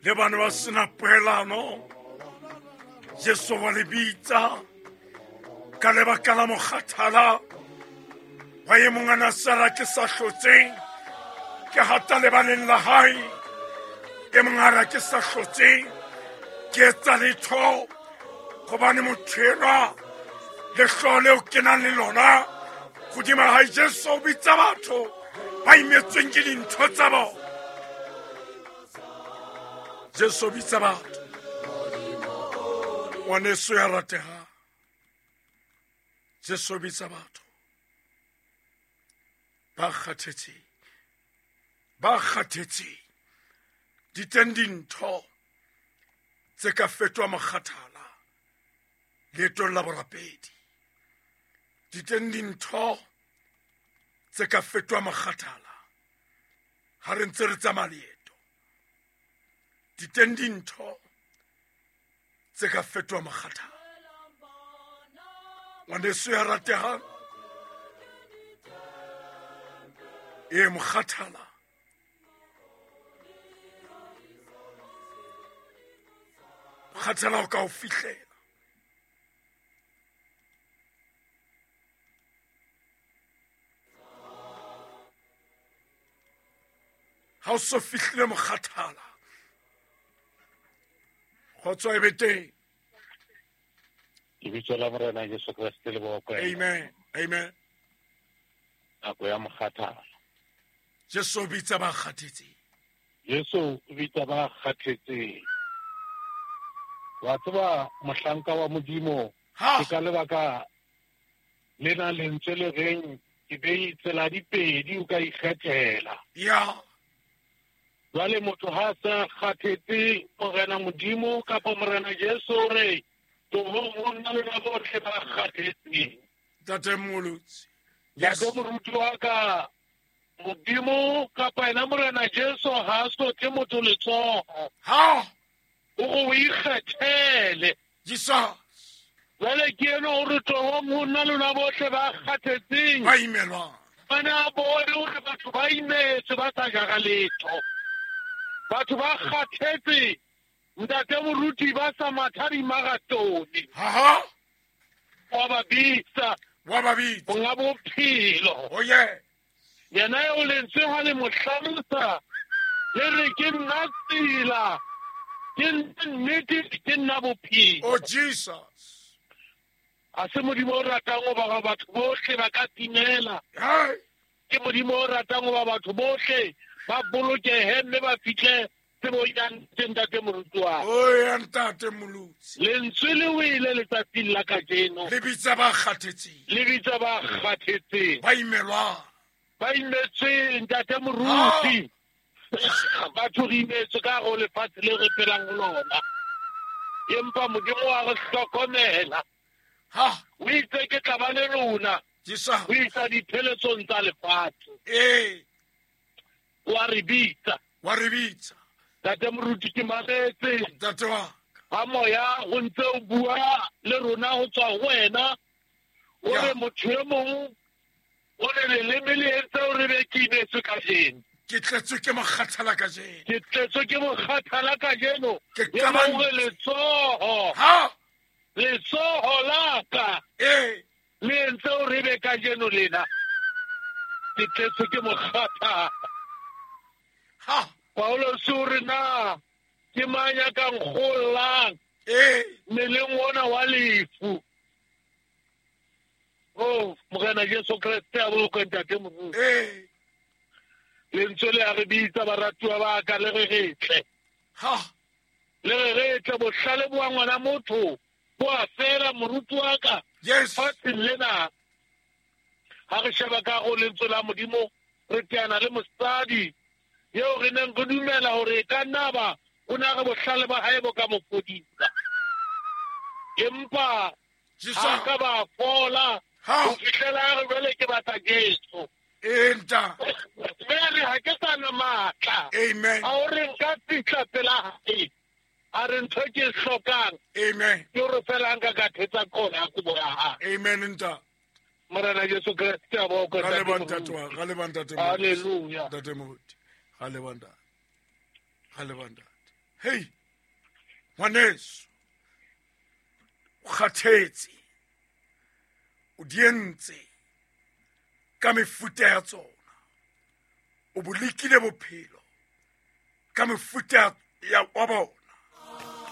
Le bana ba sena poelano. Jesu wa le bitsa ka lebaka la mokgathala wa e mong a na sala ke sa hlotseng ke hata lebaleng la hae e mong a ra ke sa hlotseng ke etsa letho gobane motho enwa lehloo leo ke nang le lona godima gae Jesu o bitsa batho ba imetsweng ke dintho tsa bona. Jesu o bitsa batho. Ngwaneso ya rategang, Jesu o bitsa batho ba kgathetseng, ba kgathetseng. Di teng dintho tse ka fetoha mokgathala leetong la borapedi. Di teng dintho tse ka fetoha mokgathala ha re ntse re tsamaya leeto. Di teng dintho tse ka fetoha mokgathala. Ngwaneso ya rategang, ee, mokgathala mokgathala o ka o fihlela. Ha o so fihlile mokgathala, kgotso e be teng. Lebitso la Morena Jesu Kreste le bokwe. Amen, amen. Nako ya mokgathala. Jesu o bitsa ba kgathetseng. Jesu o bitsa ba kgathetseng. Wa tseba mohlanka wa Modimo, ke ka lebaka lena lentswe le reng ke bei tsela di pedi o ka ikgethela. Ya. Jwale motho ha sa kgathetse Morena Modimo kapa Morena Jesu o re tlohong ho nna lona bohle ba kgathetseng. Ntate Mmolotsi. Ntate moruti wa ka, Modimo kapa ena Morena Jesu ha a sotle motho letsoho. Ha. O go o ikgethele. Jesus. Jwale ke eno o re tlohong ho nna lona bohle ba kgathetseng. Ba imelwang. Ba ne a bone hore batho ba imetswe ba sa jara letho. Batho ba kgathetse ntate moruti ba sa matha dimarathone. Ha. Wa ba bitsa. Wa ba bitsa. Monga bophelo. Oh yeah. Yena eo lentswe ha le mo hlalosa le re ke nna tsela, ke nna nnete, ke nna bophelo. Oh Jesus. A se Modimo o ratang ho ba batho bohle ba ka timela. Hey. Ke Modimo o ratang ho ba batho bohle ba bolokehe mme ba fihle tsebong ya nnete, ntate moruti wa ka. O ya ntate Molotsi. Lentswe le wele letsatsing la kajeno. Le bitsa ba kgathetseng. Le bitsa ba kgathetseng. Ba imelwang. Ba imetsweng, ntate moruti. Batho re imetswe ka go lefatshe le re phelang ho lona. Empa Modimo wa re hlokomela. Ha. O itse ke tla ba le lona. Jesus. Ho isa dipheletsong tsa lefatshe. Ee. Wa re bitsa. Wa re bitsa. Ntate moruti ke mametse. Ntate wa. Ha moya o ntse o bua le rona ho tswa ho wena. O re motho e mong o re leleme le entse o re be ke imetswe kajeno. Ke tletswe ke mokgathala kajeno. Ke tletswe ke mokgathala kajeno. Ke E mong re letsoho. Ha. Letsoho la ka. Ee. Le entse o re be kajeno lena. Ke tletswe ke mokgathala. Ha. Paulus o re na ke mang ya ka nkgollang Ee. mmeleng ona wa lefu. Oh, Morena Jesu Kreste a bolokwe ntate moruti. Ee. Lentswe le a re bitsa baratuwa ba ka le re re tle. Ha. Le re re tle bohlale bo wa ngwana motho bo a fela moruti wa ka. Yes. Fatsheng lena ha re sheba ka go lentswe la Modimo re teana le mosadi eo re neng re dumela hore e ka nna ba o ne a re bohlale ba hae bo ka mo fodisa. Empa Jesus. ha ka ba fola Ha. ho fihlela a re jwale ke batla Jesu. Ee, ntate. Mme a re ha ke sa na matla. Amen. A o re nka fihla pela hae. A re ntho e ke e hlokang. Amen. Ke hore fela nka ka thetsa kona ya kobo ya hae. Amen, ntate. Morena Jesu Kreste a bokwe, Ga ntate leba ntate Moruti. wa, ga leba ntate Moruti. Hallelujah. Ntate Moruti. Ga leba ntate. Ga leba ntate. Hei, ngwaneso, o kgathetse, o di entse ka mefuta ya tsona, o bo lekile bophelo ka mefuta ya wa bona.